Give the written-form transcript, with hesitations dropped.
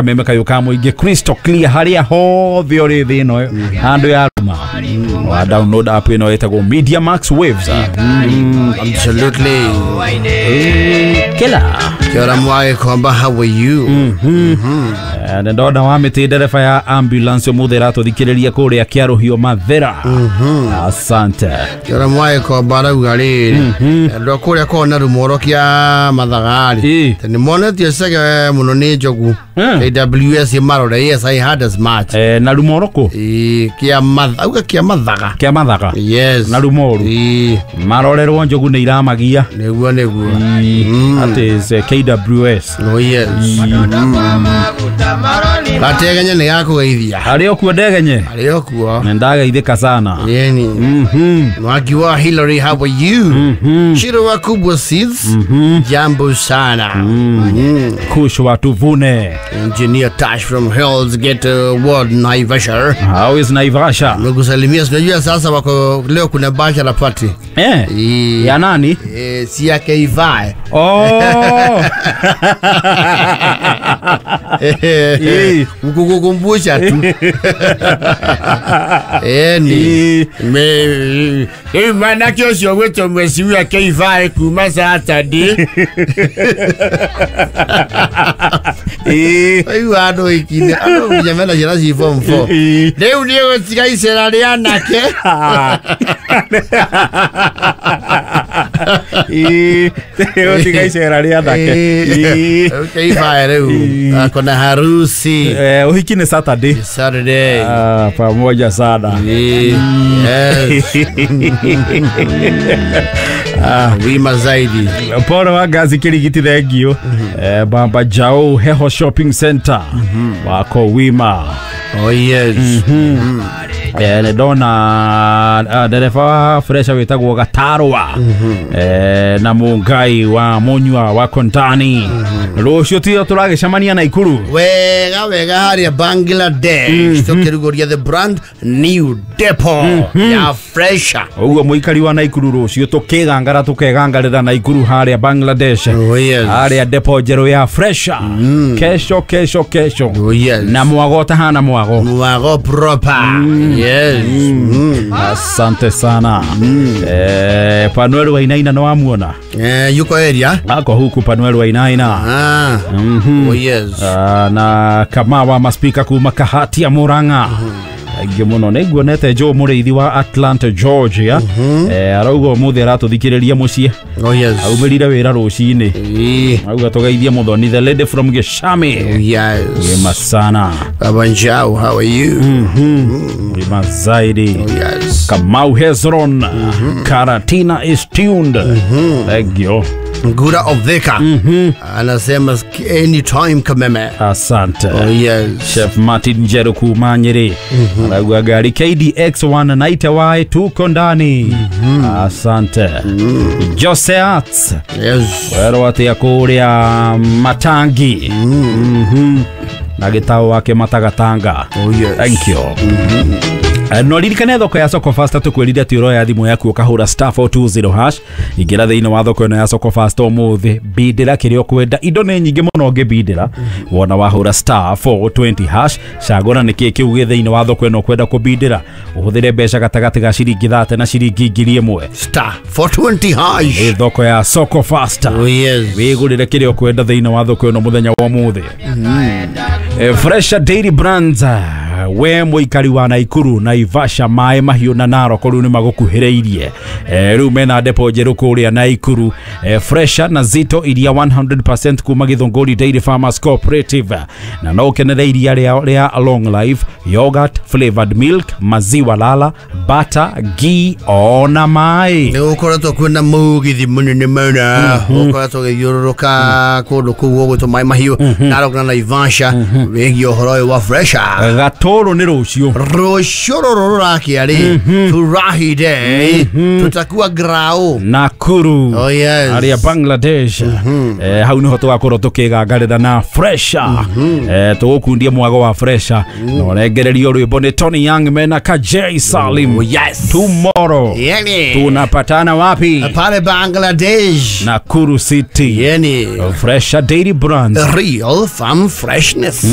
Kameme kayo ka mũingĩ crystal clear harĩa hothe ũrĩ thĩ ĩno handũ ya ruma wa download app ĩno ĩtagwo Media Max Waves. Absolutely. Kila Kia mwage kwamba how are you? Nĩ ndona wa mĩtĩ ndereba ya ambulance ũmũthĩ ĩratũthikĩrĩria kũrĩa Kĩarũhio Mathera. Asante. Kia mwage kwamba arauga rĩrĩ andũ a kũrĩa kona rumoro kĩa mathaga-rĩ nĩ monetie cege mũno nĩ njogu. KWS marore. Yes, I had as much. Na rumoro kũ? Kĩa mathaga, auga kĩa mathaga. Kĩa mathaga. Yes. Na rumoru. Marorerwo njogu nĩ iramagia. Nĩguo nĩguo. That is KWS. Oh yes. Gategenye nĩ gakũgeithia. Arĩ o kuo ndegenye. Arĩ o kuo. Nĩ ndageithĩka sana. Yeni. Mwaki wa Hillary, how are you? Shiro wa Kubwa Seeds. Jambo sana. Kushwa tuvune. Engineer Tash from Hell's Gate Ward Naivasha. How is Naivasha? Nakusalimia, unajua sasa wako leo kuna bachelor party. Ya nani? Si yake Ivae. Oh. Kukukumbusha tu. Ni. Me manake ũcio gwĩtwo mweciwa Keivae kuma Saturday. Aigua andũ ikine andũ nginya mena ciana ci form 4. Rĩu nĩ gũtiga icera rĩa anake. Gũtiga icera rĩa anake. Keivae rĩu akona harusi. Ũhiki nĩ Saturday. Saturday. Pamoja sana. Yes. Wima zaidi. Poro wa ngazi kirigiti thengio. Bamba Jao Heho Shopping Center. Wako wima. Oh yes. Nĩ ndona ndereba wa Fresha wĩtagwo Gatarwa na Mũngai wa Mũnyua wa Kontani. Rũciũ tio tũragĩcemania Naikuru. Wega wega harĩa Bangladesh tũkĩrugũria the brand new depot ya Fresha. Ũguo mũikari wa Naikuru rũciũ tũkĩgangara tũkegangarĩra Naikuru harĩa Bangladesh. Oh yes. Harĩa depot njerũ ya Fresha. Kesho kesho kesho. Oh yes. Na mwago tahana mwago. Mwago proper. Yes. Asante sana. Panuel Wainaina no amuona. Yuko area? Ako huku Panuel Wainaina. Oh yes. Na Kamawa maspika kuma Kahati ya Murang'a. Aingĩ mũno nĩ nguonete Joe Mũrĩithi wa Atlanta Georgia. Arauga ũmũthĩ aratũthikĩrĩria mũciĩ. Oh yes. Aumĩrire wĩra rũcinĩ. Auga tũgeithie Mũthoni the lady from Gĩcami. Oh yes. Wema sana. Baba Njau, how are you? Wema zaidi. Oh yes. Kamau Hezron. Karatina is tuned. Thank you. Ngura of Thika. Anasema anytime Kameme. Asante. Oh yes. Chef Martin Njeru kuma Nyeri. Arauga gari KDX 190Y tuko ndani. Asante. Jose Arts. Yes. Wero atia kũrĩa Matangi. Na gĩtao wake Matagatanga. Oh yes. Thank you. No ririkane thoko ya Soko Fasta tukwĩrire atĩ ũroya thimũ yaku ũkahũra *420# ingĩra thĩinĩ wa thoko ĩno ya Soko Fasta ũmũthĩ bindĩra kĩrĩa ũkwenda indo nĩ nyingĩ mũno ũngĩbindĩra wona wahũra *420# cagũra nĩkĩĩ kĩu gĩ thĩinĩ wa thoko ĩno ũkwenda kũbindĩra ũhũthĩre mbeca gatagatĩ ga ciringi 30 na ciringi 1000. *420#. Ĩ thoko ya Soko Fasta. Oh yes. Wĩgũrĩre kĩrĩa ũkwenda thĩinĩ wa thoko ĩno mũthenya wa ũmũthĩ. Fresha Dairy Brands we mũikari wa Naikuru Naivasha maĩ mahiũ na Narok rĩu nĩ magũkuhĩrĩirie. Rĩu mena depo njerũ kũrĩa Naikuru. Fresha na Zito iria 100% kuma Githũngũri Dairy Farmers Cooperative na no ũkenere iria rĩa long life yogurt flavored milk maziwa lala butter ghee ona maĩ. Nĩ gũkoretwo kwĩna mũgithi mũnene mũno ũkoretwo ũgĩthiũrũrũka kũndũ kũu gũgwĩtwo maĩ mahiũ Narok na Naivasha wĩgiĩ ũhoro ũyũ wa Fresha. Rũrũ nĩ rũciũ. Rũciũ rũrũ rũrakia rĩ, furahi day, tutakuwa grau. Nakuru. Oh, yes. Arĩa Bangladesh. Hau niho tũgakorwo tũkĩgangarĩra na fresha. Tũgũkundia mwago wa fresha na ũrengererio rwĩmbo nĩ Tony Young mena Kajay Salim. Oh, yes. Tomorrow Yani. tunapatana wapi? Pale Bangladesh. Nakuru City. Yani. Fresha Dairy Brands. Real farm freshness.